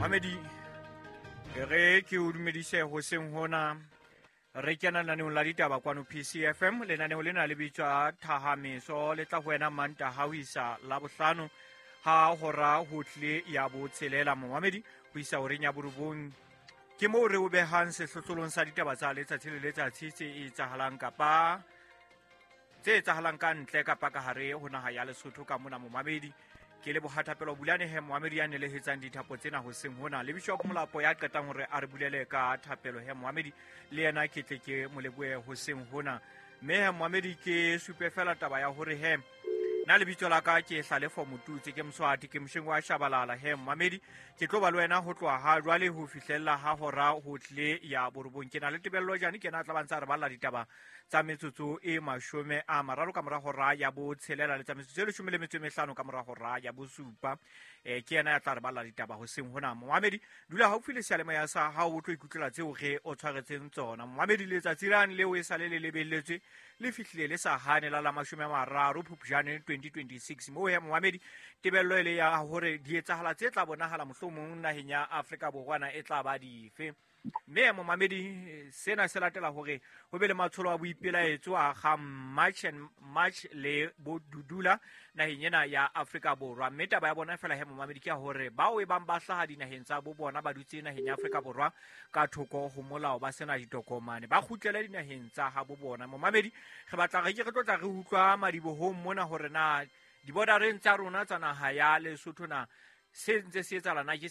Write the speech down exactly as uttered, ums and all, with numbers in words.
Mamedi, re ke o dumedise hoseng hona. Re kena lenaneong la ditaba kwano P C F M. Lenaneo lena le bitswa Thahameso, le tla ho wena Mantaha ho isa Labohlano ha hora ho tlile ya botshelela, momamedi, ho isa horeng ya borobong. Ke moo re o behang sehlohlolong sa ditaba tsa letsatsi le letsatsi tse etsahalang kapa tse etsahalang ka ntle kapa ka hare ho naha ya Lesotho ka mona, momamedi. Ke le bohathapelo Bulane he, momamedi, ya nelehetsang dithapo tsena hoseng hona, le Bishop Molapo ya qetang hore a re bulele ka thapelo he, momamedi, le yena ke tle ke mo lebohe hoseng hona. Mme he, momamedi, ke supe fela taba ya hore he nna lebitso la ka ke Hlalefo Motutse, ke Moswati, ke mosheng wa Shabalala he, momamedi. Ke tlo ba le wena ho tloha ha jwale ho fihlella ha hora ho tlile ya borobong. Ke na le Tebello Jane, ke ena a tla ba ntse a re balla ditaba tsa metsotso e mashome a mararo ka mora hora ya botshelela le tsa metsotso e leshome le metso e mehlano ka mora hora ya bosupa. um ke yena ya tla re balla ditaba hoseng hona. Momamedi, dula haufi le seyalemoya sa hao, o tlo ikutlwela tseo re o tshwaretseng tsona. Momamedi, letsatsi lane leo e sale le lebelletswe le fihlile le sa hane la la mashome a mararo Phupjane twenty twenty-six. Moo he, momamedi, tebello e le ya hore dietsahala tse tla bonahala mohlomong naheng ya Afrika Borwa e tla ba dife. Mme momamedi, sena se latela hore ho be le matsholo a boipelaetso a ga March and March le bodudula naheng ena ya Afrika Borwa. Mme taba ya bona fela he, momamedi, ke ya hore bao e bang ba hlaha dinaheng tsa bo bona ba dutse naheng ya Afrika Borwa ka thoko ho molao, ba sena ditokomane, ba kgutlele dinaheng tsa habo bona. Momamedi, re batla re ke re tlo tla re utlwa madibohong mona hore na dibodareng tsa rona tsa naha ya Lesotho na se ntse se etsahala na ke